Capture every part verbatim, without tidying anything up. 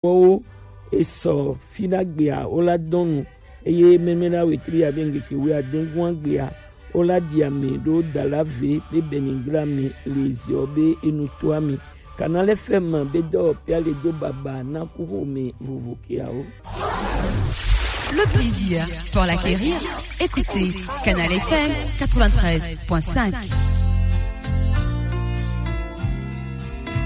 kpɔwo esɔ fina gbea wo la dɔnu, eye mɛmɛna wetri ya be ŋgeke wi adengun gbea wo la ɖi ame ɖo da la ve be benigra me le ziɔ be enutoa me. Canal F M be dɔwɔpia le do baba na kuxome vovo keawo. Le plaisir pour l'acquérir, écoutez Canal F M quatre-vingt-treize point cinq.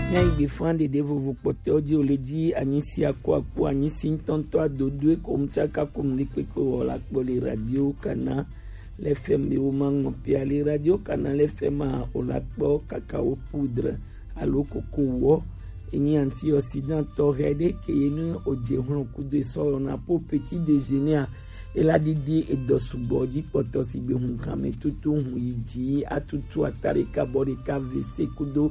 Míayi gbe fã ɖeɖe vovo kpɔtɔewo dzi wòle dzi anyi si akuaku anyi si ŋutɔŋutɔ adodoe ko ŋutsaka ko nuɖekpekpe wɔ la kpɔ le radio Canal F M be wo ma ŋɔ pia le radio Canal F M a wòla kpɔ kakao poudre alo koko wɔ enyi antioxydant tɔxɛ ɖe ke ye ne wòdze hlɔ̃ kudo esɔ wɔna po petit déjeuner a ela ɖiɖi edɔ sugbɔ dzi kpɔtɔ si gbe hun kame tutu hun yi dzi atutu ata ɖeka bɔ ɖeka vese kudo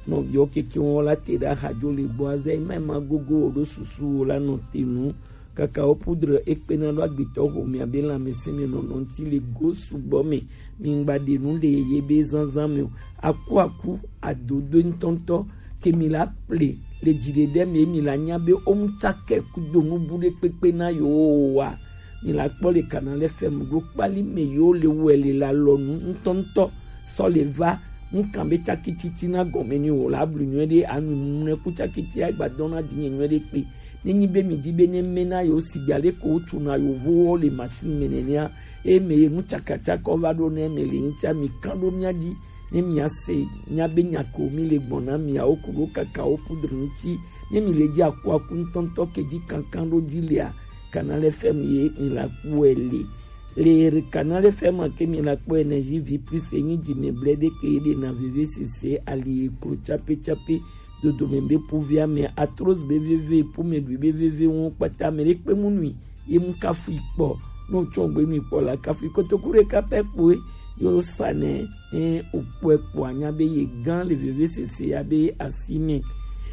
nɔviwo keke wɔn la te ɖe axa dzo le gbɔ azɛ ema ema gogo wo ɖo susu wo la nɔ te nu kakao poudre ekpena ɖo agbetɔ xomea be lãmesẽ me nɔnɔ ŋuti le go sugbɔ me mi ŋgba ɖe nu le ye be zazã me o akuaku adodo ŋutɔŋutɔ ke mi la ple le dziɖeɖe me mi la nya be wo ŋutsakɛ kudo nubu ɖe kpekpe na yewo wa mi la kpɔ le Canal F M ɖo kpali me yewo le wɛ le la lɔnu ŋutɔŋutɔ sɔ le va ŋkan be tsaki titina gɔme ni wò la blu nyuie ɖe anu mumlɛ ku tsaki ti agba dɔn na dinye nyuie ɖe kpe ne nyi be mi di be ne me na yewo sigba le ko wotu na yewo wo le machine me nenea eye me ye nu tsakatsaka wo va ɖo ne me le ŋutia mi kan ɖo mia dzi ne mia se mia be nya ko mi le gbɔn na miawo ku ɖo kaka wo poudre ŋuti ne mi le dzi akuaku ŋutɔŋutɔ ke dzi kankan ɖo dzi lea Canal F M ye mi la kpɔe le le Canal F M ke mi la kpɔ énergie vie plus enyi dzi me ble ɖe ke ɖe na veve sese ali eklo tsape tsape dodome be povia me atroz be veve po me ɖui be veve ŋu kpata me ɖe kpe mu nui ye mu kafu kpɔ no tsɔ gbe nui kpɔ la kafu kotoku ɖeka pɛ kpoe yo sa ne ne okpɔe kpɔ anya be ye gã le veve sese ya be asi me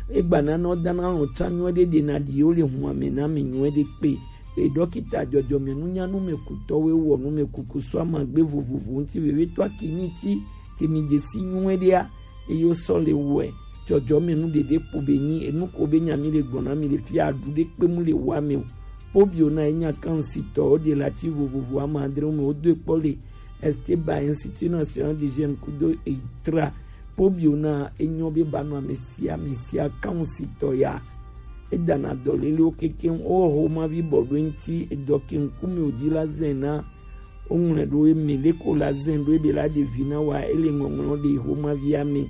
egba na nɔ dana lɔ tsa nyuie ɖe ɖe na ɖi yo le hun ame na mi nyuie ɖe kpe e dɔkita dzɔdzɔme nunyanu me kutɔwo wɔ nu me kuku sɔ amagbe vovovo ŋuti veve tɔ akini ti ke mi dze si nyuie ɖea eye wosɔ le wɔe dzɔdzɔme nu ɖeɖe kpo be nyi enu ko be nya mi le gbɔn na mi le fia aɖu ɖe kpe mu le wa me o pobio na enya kan sitɔwo ɖe la ti vovovo ama adre me wodo kpɔ le Esteban Institut National d'Hygiène kudo etra pobio na enyo be ba nɔ ame sia ame sia kan sitɔ ya edana dɔlelewo kekeŋ owɔ xomavi bɔ ɖo eŋuti edɔ ke ŋkume wòdzi la zɛn na woŋlɔe ɖo eme leko la zɛn ɖo ebe la ɖe vi na wa ele ŋɔŋlɔ ɖe xomavia me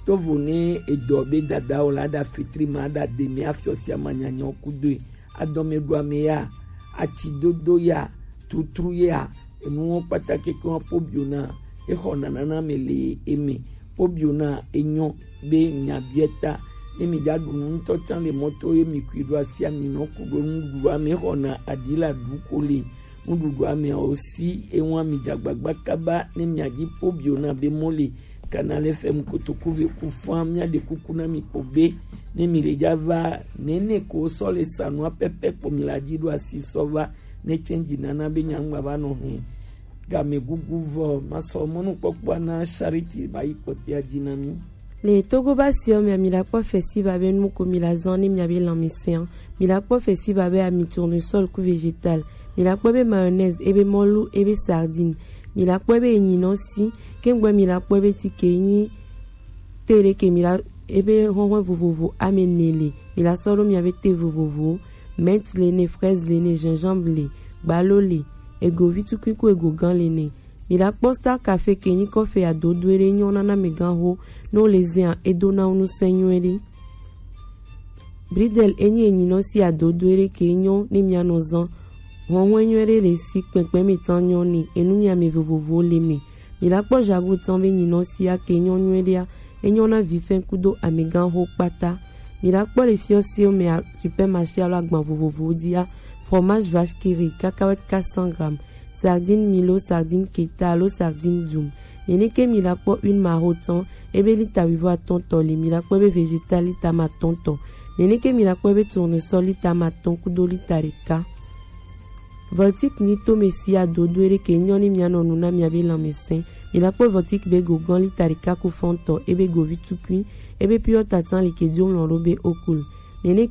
tovo ne edɔ be dada o la ɖa fitri ma ɖa de me afiɔ sia ma nyanyɔ kudoe adɔme ɖo ame ya atsi dodo ya tutru ya enuwo kpata keke wa po bio na exɔ nanana me le eme po bio na enyo be nya biɛ ta ne mi ɖa ɖu nu ŋutɔ tsã le mɔto ye mi kui ɖo asia mi nɔ ku ɖo nuɖuɖua me xɔna aɖi la ɖu ko le nuɖuɖua me o si ewa mi dza gbagba kaba ne mi aɖi po bio na be mɔ le kana le fɛ mu kotoku ve ku fã mi aɖe kuku na mi kpo be ne mi le dza va nene ko sɔ le sa nua pɛpɛ kpo mi la dzi ɖo asi sɔ va ne tsɛn dzi nana be nya ŋgba va nɔ hɛn game gugu vɔ masɔ mɔnukpɔkpɔa na charity ba yi kpɔtea dzi na mi. Le Togo ba siɔ mia mi la kpɔ festival be nu ko mi la zan ne mia be lanmesɛn mi la kpɔ festival be ami tournesol ku vegetal mi la kpɔ be mayonnaise ebe mɔlu ebe sardine mi la kpɔ be enyinɔ si kengbe mi la kpɔ be tike nyi te ɖe ke mi la ebe hɔhɔn vovovo ame ne le mi la sɔ ɖo mia be te vovovo mint le ne fraise le ne gingembre le gbalo le ego vitukui ku ego gan le ne mi la kpɔ star cafe ke nyi kɔfe adodo ɖe nyɔ nana me gan ho no le zia edo na nu sɛ nyɔ ɖe bridel enyi enyinɔ si adodo ɖe ke nyɔ ne mia nɔ zan hɔhɔn nyɔ ɖe le si kpɛkpɛ me tan nyɔ ne enu mia me vovovo le me mi la kpɔ jago tan be nyinɔ si ake nyɔ nyɔ ɖea enyɔ na vi fɛn kudo amegan ho kpata mi la kpɔ le fiɔ si me supermarché alo agban vovovo dia fromage vache qui rit cacahuète quatre cents grammes sardine milo sardine keta alo sardine dum nene ke mi la kpɔ une maro tɔn ebe lita wivo atɔn tɔ li mi la kpɔ ebe vegetal lita ma tɔn tɔ nene ke mi la kpɔ ebe tournesol lita ma tɔn kudo lita ɖeka voltik ni to me si adodo ere ke nyɔ ni mia nɔ nu na mia be lanmesɛn mi la kpɔ voltik be go gɔn lita ɖeka ku fɔn tɔ ebe go vi tukui ebe piɔ tatan li ke dio mlɔ ɖo be okul Nene